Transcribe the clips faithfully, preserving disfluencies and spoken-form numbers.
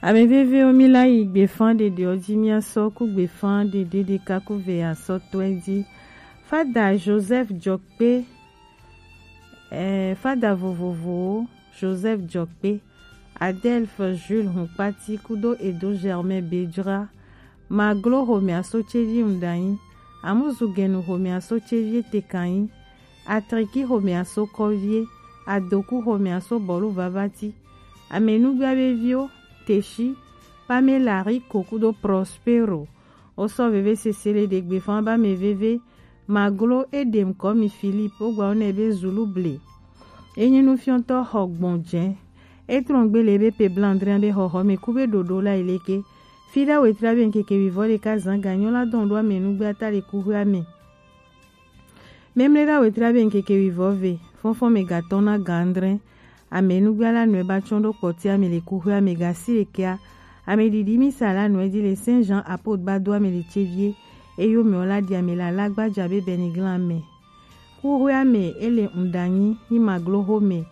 Ame vevewo, mi la yi gbefan ɖeɖewo ji, mia sɔ ku gbefan ɖeɖe ɖeka ku ve asɔtɔe ji. Fada Joseph Jɔkpe, eh, fada vovovowo, Joseph Jɔkpe, Adelphe Jules Hunkpati kudo Edo Germain Bejra, Maglo xomɛaso cevi ŋdanyi, Amuzu Genu xomɛaso cevi etekanyi, Atriki xomɛaso kɔvie, Adoku xomɛaso bɔlu vavati, Amenugba veviwo, Teshi, Pamela Rico kudo Prospero. Wo sɔ veve sese le ɖe gbefan ba mɛ veve, Maglo Edem Kɔmi Philippe, wo gba wo nɛ be Zulu ble. E nyi nufiɔtɔ xɔ gbɔn jɛ. E trɔn gbe le be pe blandrin be xɔxɔ mɛ ku be ɖoɖo la yi leke. Fi ɖa wetri be ŋkeke wivɔ ɖeka zan ganyo la dɔn ɖo Amenugba ta le kuxwea mɛ. Memle ɖa wetri be ŋkeke wivɔ ve, fɔnfɔn mɛ gatɔn na gandrin. Amenugba la nɔe ba tsɔn ɖo kpɔtia mɛ le kuxwea mɛ gasi ɖekea. Ame ɖiɖi misa la nɔe di le Saint Jean Apôtre ba do ame le cevie. Eyo mɛ wo la ɖi ame la la gbaja be Beniglan mɛ. Kuxwea mɛ e le ŋdanyi nyi Maglo xomɛ.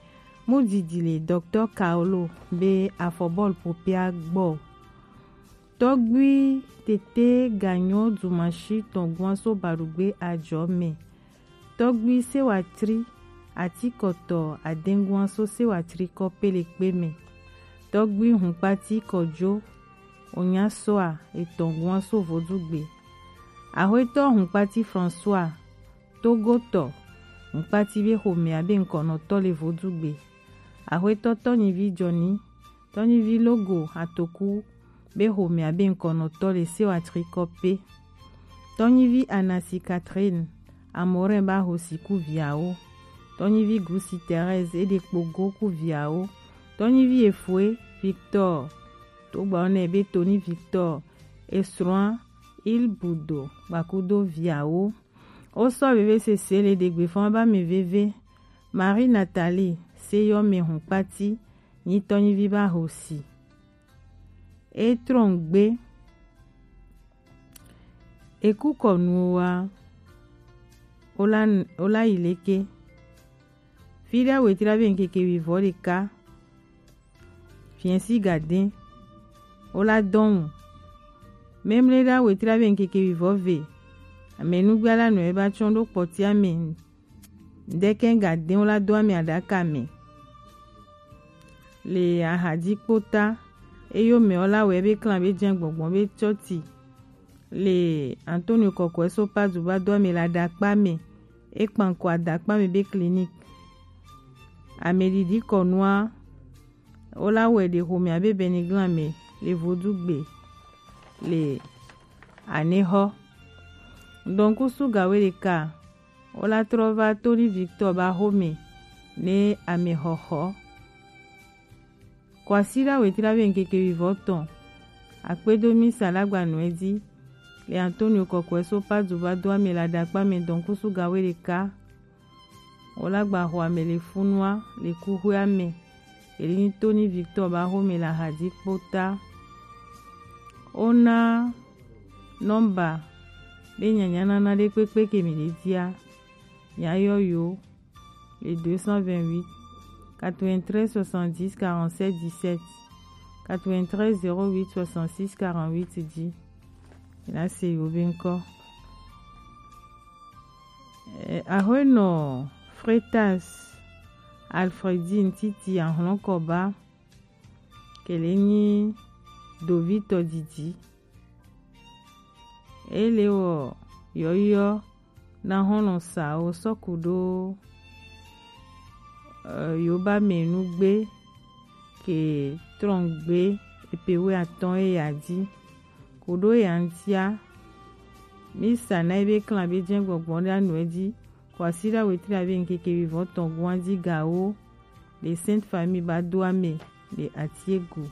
Mu didi le Docteur Kaolo be afɔbɔl popea gbɔ. Tɔgbui tete ganyo dumashi tɔn guan so baɖugbe ajɔ mɛ. Tɔgbui sewatri atikɔtɔ adenguan so sewatri kɔ pelekpe mɛ. Tɔgbui hunkpati kɔjo onyasoa etɔn guan so vodugbe. Axwetɔ hunkpati François Togotɔ hunkpati be xomɛa be ŋkɔnɔtɔ le vodugbe. Axwetɔ Tɔnyivi Jɔni, Tɔnyivi Logo Atoku be xomɛa be ŋkɔnɔtɔ le sewatri kɔpe. Tɔnyivi Anasi Catherine Amorin ba hosi ku viawo. Tɔnyivi Gusi Thérèse eɖe kpogo ku viawo. Tɔnyivi Efue Victor to gba wo nɛ be Tony Victor esrɔ̃a Ilbudo gbakudo viawo. Wo sɔ veve sese le ɖe gbefan ba mɛ veve. Marie Nathalie seyɔ mɛ hunkpati nyi Tɔnyivi ba hosi. E trɔn gbe. Eku kɔnuwo wa, wo la, wo la yi leke. Fi ɖa wetri be ŋkeke wivɔ ɖeka. Fiɛsi gadin, wo la dɔn wu. Memle ɖa wetri be ŋkeke wivɔ ve. Amenugba la nɔe ba tsɔn ɖo kpɔtia mɛ. Ŋdɛkɛ gadin wo la do ame aɖaka mɛ. Le ahadi kpota, eyo mɛ wo la wɛ be klan be jɛn gbɔgbɔn be tsɔti. Le Antonio Kɔkɔɛ so Padu ba do ame le aɖakpa mɛ. E kpan ko aɖakpa mɛ be clinique. Ame ɖiɖi kɔnua, wo la wɛ ɖe xomɛ abe Beniglan mɛ le vodugbe le anexɔ. Dɔnkusu gawe ɖeka, wo la trɔ va Tony Victor ba xomɛ ne ame xɔxɔ. Kwasiɖa wetri be ŋkeke wivɔ tɔn. Akpedo misa la gba nɔe ji le Antonio Kɔkɔɛ so Padu ba do ame le aɖakpa mɛ dɔnkusu gawe ɖeka. Wo la gba xo ame le funua le kuxwea mɛ. Eli nyi Tony Victor ba xomɛ le ahadi kpota. Wo na nɔmba be nyanya nana ɖe kpekpe ke mi ɖe dia. Nya yɔ yo le deux cent vingt-huit, quatre-vingt-treize soixante-dix quarante-sept dix-sept, quatre-vingt-treize zéro huit soixante-six quarante-huit dix. La se yo be ŋkɔ. Eh, Ahuenɔ Fretas Alfredine Titi Ahlɔnkɔba kele nyi dovitɔ didi. Ele wɔ yɔyɔ na xɔlɔ sawo sɔku ɖo, eh, yoba mɛ nugbe ke trɔngbe epewe atɔn eya ji. Koɖo ya ŋtia, mi sa na ebe klan be jɛn gbɔgbɔ ɖe anu eji. Kwasiɖa wetri abe ŋkeke wivɔn tɔn guan ji gawo le Sainte Famille ba do ame le Atiegu.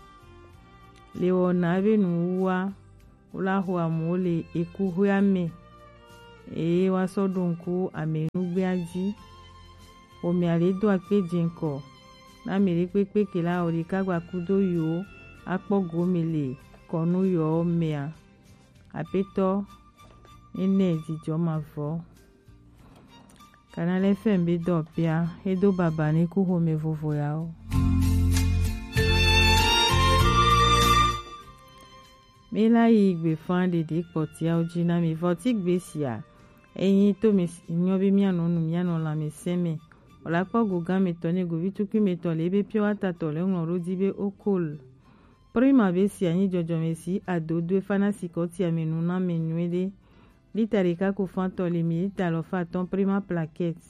Le wɔna be nuwuwa, wo la xo amewo le ekuxwea me eye woasɔ ɖo ŋku amenugbea ji. Xomea le do akpe jɛnkɔ na ame ɖekpekpe ke la wɔ ɖeka gba kudo yewo akpɔ gome le kɔnu yewo mea. Aƒetɔ nene dzidzɔ mavɔ. Canal F M be dɔ pia, edo baba ne ku xome vovo yawo. Mi la yi gbefa ɖeɖe kpɔtiawo ji na mi. Vɔ ti gbe sia, eyin to mi s-, nyɔ be mianɔ nu, mianɔ lãmesẽ me. Wòla kpɔ go gã metɔ ne govi tukui metɔ le ebe piɔ wata tɔ le ŋlɔ ɖo di be okol. Prima be sia nyi jɔjɔme si adodo efa na sikɔtia me nu na me nyuie ɖe. Lita ɖeka ko fãtɔ le mi lita alɔfa atɔ̃ Prima plaquette.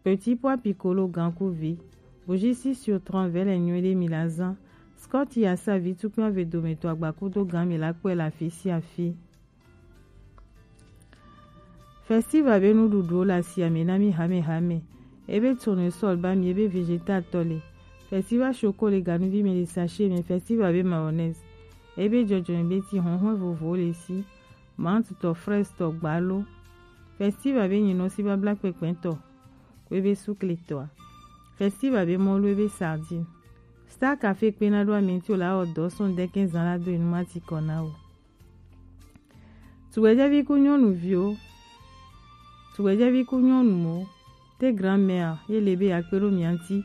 Petit pois piccolo gan ku vi. Bougie six sur trente vɛ le nyuie ɖe mi la zã. Scott ya sa vi tukui ave dometɔ agba kudo gan mi la kpɔe le afi sia afi. Festival be nuɖuɖuwo le asia me na mi hamehame. Ebe tournesol ba mi, ebe vegetal tɔ le. Festival choco le ganuvi me le sachet me, festival be mayonnaise. Ebe jɔjɔme be ti hɔnhɔn vovowo le si. Menthe tɔ, fraise tɔ, gbalo. Festival be nyinɔ si babla kpɛkpɛ tɔ. Kwe be sukle tɔa. Festival be mɔlu ebe sardine. Star Café kpe na ɖo amɛnti o la wɔ dɔ sɔn dɛkɛn zan la do enu mati kɔ na o. Tugbɛjɛvi ku nyɔnuviwo, tugbɛjɛvi ku nyɔnuwo, te grand-mère ye le be akpe ɖo mia ŋuti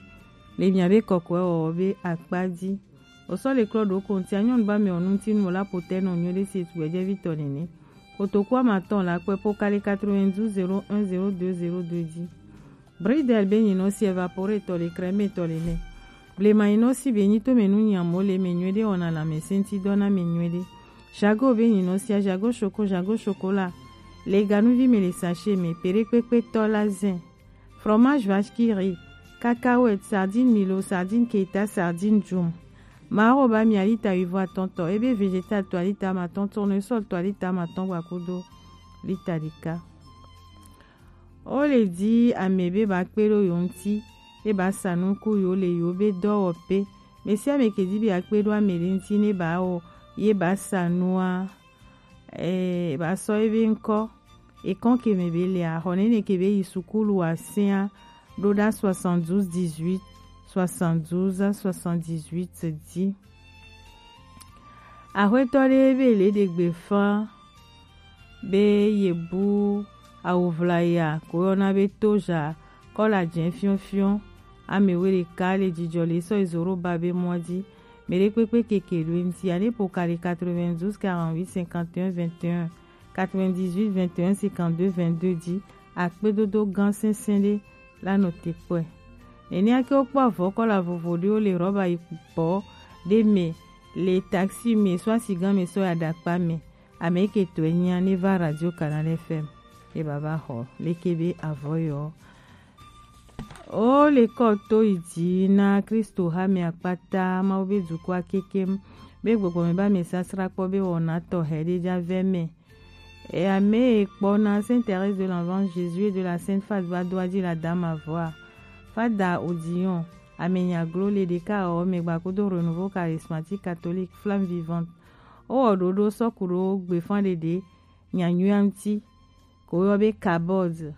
le mia be kɔkɔɛ wɔwɔ be akpa ji. Osɔ le klɔ ɖo kontia nyɔnu ba mɛ ɔnu ŋuti nu la potɛ nɔ nyuie ɖe si tugbɛjɛvi tɔ nene. Kotoku amatɔn la kpɛ po kali quatre-vingt-douze zéro un zéro deux zéro deux ji. Bridel be nyinɔ si évaporé tɔ le, crème tɔ le nɛ. Blema nyinɔ si be nyi to me nu nyamo le me nyuie ɖe, wɔna lãmesẽ ŋuti dɔ na me nyuie ɖe. Jago be nyinɔ sia, jago choco, jago chocolat. Le ganuvi me le sachet me, peɖekpekpe tɔ la zin. Fromage vache qui rit, cacahuète, sardine milo, sardine keta, sardine djum. Maro ba mi alita wivɔ atɔ̃ tɔ, ebe vegetal tɔ alita amatɔ̃, tournesol tɔ alita amatɔ̃ gba kudo lita ɖeka. Wo le di ame be ba kpe ɖo yo ŋuti, ye ba sa nu ku yo le yo be dɔ wɔ pe. Mɛ sia mɛ ke di be akpe ɖo ame ɖe ŋuti ne ba wɔ, ye ba sa nua, eh, ba sɔ ye be ŋkɔ. Ekɔn ke mɛ be le a, xɔ nene ke be yi sukulu wa sia, ɖo ɖa soixante-douze dix-huit, soixante-douze soixante-dix-huit di. Axwetɔ ɖe be le ɖe gbe fã be ye bu awu ʋlaya ko yɔna be toja kɔla jɛ fiɔfiɔ ame we ɖeka le jijɔ le sɔ yi zoro ba be mɔ ji. Mɛ ɖe kpekpe keke ɖo ŋuti ane po kali quatre-vingt-douze quarante-huit cinquante et un vingt et un, quatre-vingt-dix-huit vingt et un cinquante-deux vingt-deux ji. Akpedodo gã sɛnsɛn ɖe la nɔ te kpɔe. Nenea ke wokpɔ avɔ kɔla vovo ɖewo le rɔba yi bɔ ɖe me le taxi me sɔ asi gã me sɔ ya ɖakpa me. Ame ke tɔe nyia ne va Radio Canal F M. E baba xɔ leke be avɔ yɔ. O le kɔ to yi dzi na Kristo ha me akpata Mawu be dukɔa kekem be gbɔgbɔ me ba me sasra kpɔ be wɔna tɔ he ɖe dza vɛ me. E ame e kpɔ na Sainte Thérèse de l'Enfant Jésus et de la Sainte Fatima do adzi la dama vɔa. Fada Odillon, ame nya glo le ɖeka ɔ me gba kudo Renouveau Charismatique Catholique Flamme Vivante. O wɔ ɖoɖo sɔ ku ɖo gbefan ɖeɖe nya nyuia ŋuti. Ko yɔ be Kabod,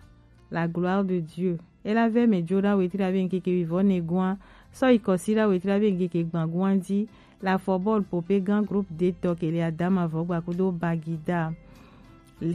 la gloire de Dieu. E la vɛ me jo ɖa wetri abe ŋkeke wivɔ ne gua, sɔ yi kɔsi ɖa wetri abe ŋkeke gban gua dzi, la fɔ bɔl pope gan groupe de tɔ ke le adama vɔ gba kudo Bagida.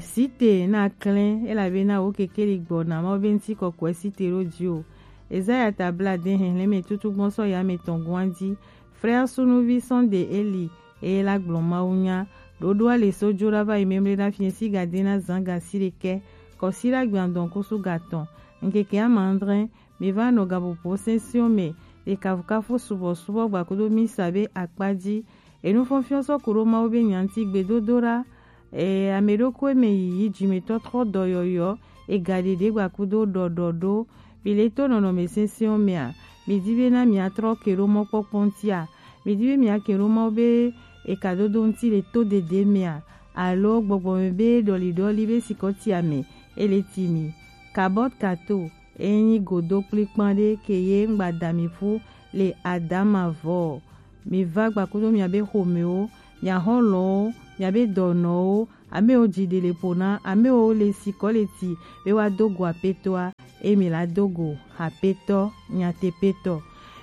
Site na klɛn, e la be na wo keke li gbɔ na ma wo be ŋuti kɔkɔɛ site ɖo dzi o. Ezaya ta bla de hɛhlɛn me tutu gbɔn sɔ ya me tɔn gua dzi. Frère Sunuvi Sunday Eli, eye la gblɔ Mawu nya. Ɖoɖoa le so jo ɖa va yi memle na fiɛ si gade na zan gasi ɖekɛ. Kɔsi la gbian dɔn kusu gatɔn. Ŋkeke ama adre, mi va nɔ gapopo sɛnsiɔn me. Le kafukafu subɔsubɔ gba kudo misa be akpa ji. Enu fɔnfiɔn sɔ ku ɖo Mawu be nya ŋuti gbedodoɖa. E, ame ɖokui me yiyi jimetɔtrɔ dɔyɔyɔ. E gaɖeɖe gba kudo ɖɔɖɔɖo. Mi le to nɔnɔme sɛnsɛnwo mea, mi di be na miatrɔ ke ɖo mɔkpɔkpɔ ŋutia? Mi di be miake ɖo Mawu be ekadodo ŋuti le to dede mea? Alo gbɔgbɔ me be ɖɔliɖɔli be sikɔtia me e le ti mi? Kabɔt kato, e nyi godo kplikpan ɖe ke ye ŋgba da mi ƒu le adama vɔ. Mi va gba kudo miabe xomewo, mia xɔlɔwo, miabe dɔnɔwo, amewo dzi ɖe le ƒo na, amewo le sikɔ le ti be woa do go apetɔa, emi la do go apetɔ, nyatepetɔ.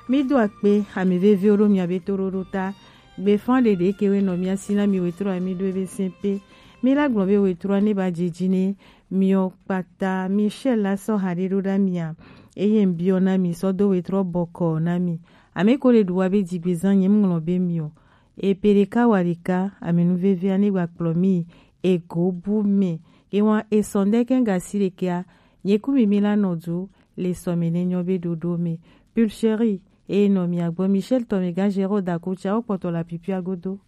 Mi do akpe ame veviwo ɖo miabe toɖoɖo ta. Gbefan ɖeɖe ke we nɔ mia si na mi wetrɔ ami ɖo ebe sɛn pe. Mi la gblɔ be wetrɔ ne ba dzedzi ne miɔ kpata, mi shɛ la sɔ ha ɖe ɖo ɖa mia. Eye ŋbiɔ na mi sɔ do wetrɔ bɔkɔ na mi. Ame ko le ɖu wa be dzigbezan nye ŋlɔ be miɔ. Epeleka walika aminu vevia ne gba kplɔ mi ego bu me. Ewa esɔn ɖe kɛn gasi ɖekɛa, nye ku mi mi la nɔ du le sɔme ne nyɔ be ɖoɖo me. Pulcherie, e nɔ mi agbɔ Michel tɔ me gan Géraud Dakocha o kpɔtɔ la pipia godo.